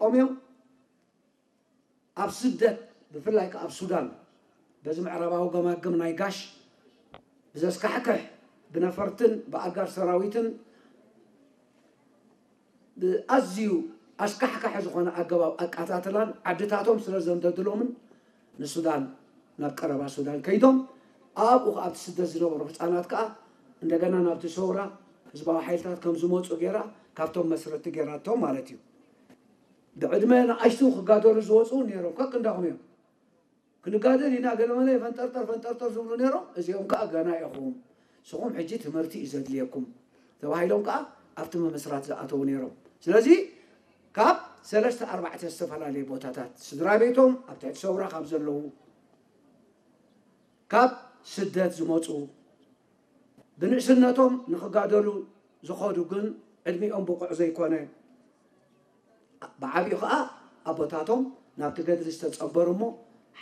ቆምዮም ኣብ ስደት፣ ብፍላይ ከኣ ኣብ ሱዳን፣ በዚ ምዕራባዊ ገማግም ናይ ጋሽ ብዘስካሕክሕ ብነፈርትን ብኣጋር ሰራዊትን ብኣዝዩ ኣስካሕካሒ ዝኾነ ኣገባብ ኣቃታትላን ዓድታቶም ስለ ዘንደድሎምን ንሱዳን ናብ ቀረባ ሱዳን ከይዶም ኣብኡ ኣብቲ ስደት ዝነበሩ ህፃናት ከዓ እንደገና ናብቲ ሰውራ ህዝባዊ ሓይልታት ከም ዝመፁ ገይራ ካብቶም መስረቲ ገይራቶም ማለት እዩ። ብዕድመ ንኣሽቱ ክጋደሉ ዝወፁ ነይሮም። ከክ እንዳኹም እዮም። ክንጋደል ኢና ገለመለ ፈንጠርጠር ፈንጠርጠር ዝብሉ ነይሮም። እዚኦም ከዓ ገና ኢኹም፣ ንስኹም ሕጂ ትምህርቲ እዩ ዘድልየኩም ተባሂሎም ከዓ ኣብቲ ምምስራት ዝኣተዉ ነይሮም። ስለዚ ካብ ሰለስተ ኣርባዕተ ዝተፈላለየ ቦታታት ስድራ ቤቶም ኣብ ትሕቲ ሰውራ ካብ ዘለዉ ካብ ስደት ዝመፁ ብንእስነቶም ንኽጋደሉ ዝኸዱ ግን ዕድሚኦም ብቑዕ ዘይኮነ ብዓቢኡ ኸዓ ኣቦታቶም ናብቲ ገድሊ ዝተፀንበሩ እሞ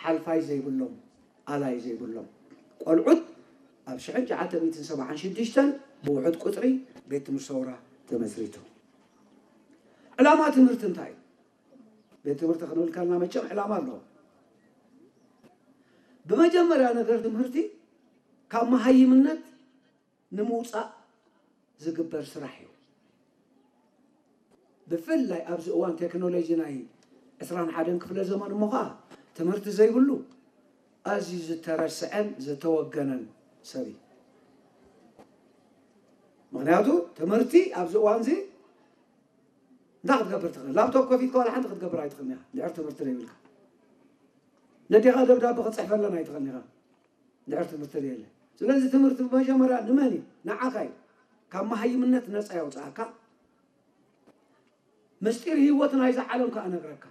ሓልፋይ ዘይብሎም ኣላይ ዘይብሎም ቆልዑት ኣብ ሽሕን ትሽዓተ ሚእትን ሰብዓን ሽዱሽተን ብውሑድ ቁፅሪ ቤት ትምህርቲ ሰውራ ተመስሪቱ። ዕላማ ትምህርቲ እንታይ እዩ? ቤት ትምህርቲ ክንብል ከለና መቸም ዕላማ ኣለዎ። ብመጀመርያ ነገር ትምህርቲ ካብ መሃይምነት ንምውፃእ ዝግበር ስራሕ እዩ። ብፍላይ ኣብዚ እዋን ቴክኖሎጂ ናይ ዕስራን ሓደን ክፍለ ዘመን እሞ ከዓ ትምህርቲ ዘይብሉ ኣዝዩ ዝተረስዐን ዝተወገነን ሰብ እዩ። ምክንያቱ ትምህርቲ ኣብዚ እዋን እዚ እንታይ ክትገብር ትኽእል? ላፕቶፕ ከፊትካ ዋላ ሓንቲ ክትገብር ኣይትኽእልን ኢኻ እንድሕር ትምህርቲ ዘይብልካ። ነዴኻ ደብዳቤ ክትፅሕፈለን ኣይትኽእልን ኢኻ እንድሕር ትምህርቲ ዘየለ። ስለዚ ትምህርቲ ብመጀመርያ ንመን እዩ? ንዓኻ እዩ። ካብ መሃይምነት ነፃ የውፅኣካ። ምስጢር ህይወት ናይዛ ዓለም ከዓ እነግረካ።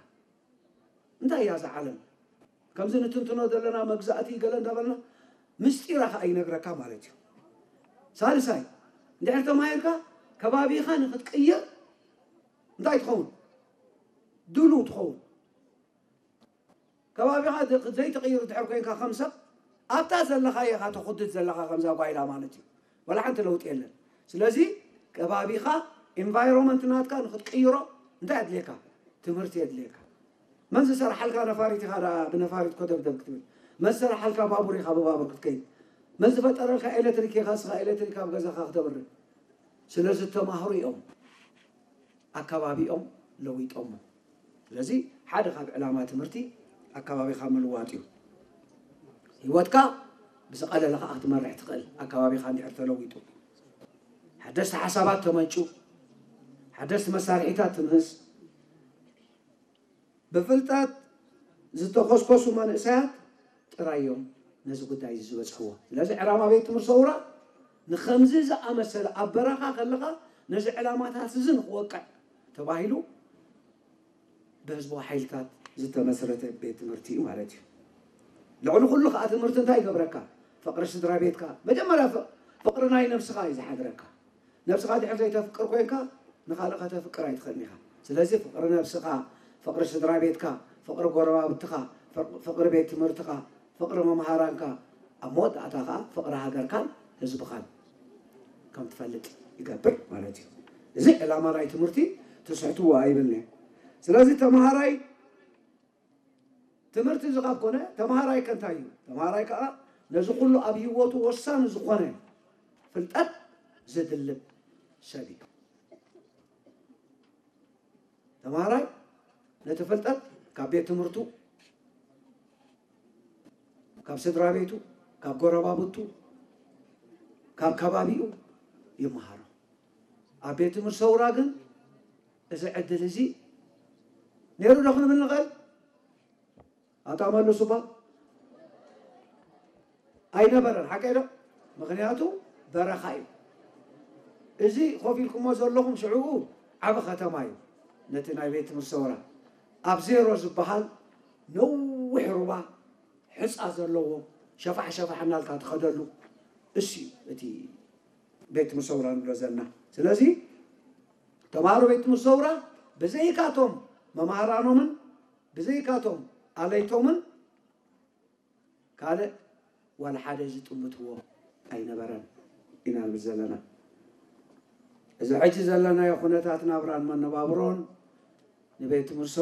እንታይ እያ እዛ ዓለም? ከምዚ ንትንትኖ ዘለና መግዛእቲ ገለ እንዳበልና ምስጢራ ከዓ ይነግረካ ማለት እዩ። ሳልሳይ እንድሕር ተማሂርካ ከባቢኻ ንክትቅይር እንታይ ትኸውን? ድሉው ትኸውን። ከባቢኻ ዘይትቕይር ድሕር ኮይንካ ከም ሰብ ኣብታ ዘለኻ ኢኻ ተኹድድ ዘለኻ ከምዛ ጓይላ ማለት እዩ። ወላ ሓንቲ ለውጢ የለን። ስለዚ ከባቢኻ ኢንቫይሮንመንት ናትካ ንክትቅይሮ እንታይ ኣድልየካ? ትምህርቲ የድልየካ። መን ዝሰርሓልካ ነፋሪት ኢኻ ደኣ ብነፋሪት ኮደብደብ ክትብል? መን ዝሰርሓልካ ባቡር ኢኻ ብባቡር ክትከይድ? መን ዝፈጠረልካ ኤሌክትሪክ ኢኻ እስኻ ኤሌክትሪክ ኣብ ገዛኻ ክተብርህ? ስለ ዝተማህሩ እዮም ኣከባቢኦም ለዊጦሞ። ስለዚ ሓደ ካብ ዕላማ ትምህርቲ ኣከባቢኻ ምልዋጥ እዩ። ህይወትካ ብዝቐለለ ከዓ ክትመርሕ ትኽእል ኣከባቢኻ እንድሕር ተለዊጡ። ሓደስቲ ሓሳባት ተመንጩ፣ ሓደስቲ መሳርሒታት ትምህዝ፣ ብፍልጠት ዝተኾስኮሱ መንእሰያት ጥራይ እዮም ነዚ ጉዳይ እዚ ዝበፅሕዎ። ስለዚ ዕላማ ቤት ትምህርቲ ሰውራ ንከምዚ ዝኣመሰለ ኣብ በረኻ ከለኻ ነዚ ዕላማታት እዚ ንክወቅዕ ተባሂሉ ብህዝባዊ ሓይልታት ዝተመስረተ ቤት ትምህርቲ እዩ ማለት እዩ። ልዕሊ ኩሉ ከዓ ትምህርቲ እንታይ ይገብረካ? ፍቕሪ ስድራ ቤትካ መጀመርያ ፍቕሪ ናይ ነብስኻ እዩ ዝሓድረካ። ነብስኻ ድሕር ዘይተፍቅር ኮይንካ ንኻልእ ከተፍቅር ኣይትኽእልን ኢኻ። ስለዚ ፍቕሪ ነብስኻ፣ ፍቕሪ ስድራ ቤትካ፣ ፍቕሪ ጎረባብትኻ፣ ፍቕሪ ቤት ትምህርትኻ፣ ፍቕሪ መምሃራንካ፣ ኣብ መወዳእታ ከዓ ፍቕሪ ሃገርካን ህዝብኻን ከም ትፈልጥ ይገብር ማለት እዩ። እዚ ዕላማ ናይ ትምህርቲ ትስሕትዎ ኣይብልን እየ። ስለዚ ተምሃራይ ትምህርቲ እዚ ካብ ኮነ ተምሃራይ ከ እንታይ እዩ? ተምሃራይ ከዓ ነዚ ኩሉ ኣብ ህይወቱ ወሳኒ ዝኾነ ፍልጠት ዝድልብ ሰብ እዩ። ተምሃራይ ነቲ ፍልጠት ካብ ቤት ትምህርቱ፣ ካብ ስድራ ቤቱ፣ ካብ ጎረባብቱ፣ ካብ ከባቢኡ ይመሃሮ። ኣብ ቤት ትምህርቲ ሰውራ ግን እዚ ዕድል እዚ ነይሩ ዶ ክንብል ንኽእል? ኣታ መልሱ እባ። ኣይነበረን፣ ሓቀይ ዶ? ምኽንያቱ በረኻ እዩ። እዚ ኮፍ ኢልኩሞ ዘለኹም ሽዕኡ ዓቢ ከተማ እዩ። ነቲ ናይ ቤት ትምህርቲ ሰውራ ኣብ ዜሮ ዝበሃል ነዊሕ ሩባ ሕፃ ዘለዎ ሸፋሕ ሸፋሕ እናልካ ትኸደሉ እሱ እዩ እቲ ቤት ትምህርቲ ሰውራ ንብሎ ዘለና። ስለዚ ተምሃሮ ቤት ትምህርቲ ሰውራ ብዘይካቶም መማህራኖምን ብዘይካቶም ኣለይቶምን ካልእ ዋላ ሓደ ዝጥምትዎ ኣይነበረን ኢና ንብል ዘለና። እዚ ሕጂ ዘለናዮ ኩነታት ናብራን መነባብሮን ንቤት ትምህርቶ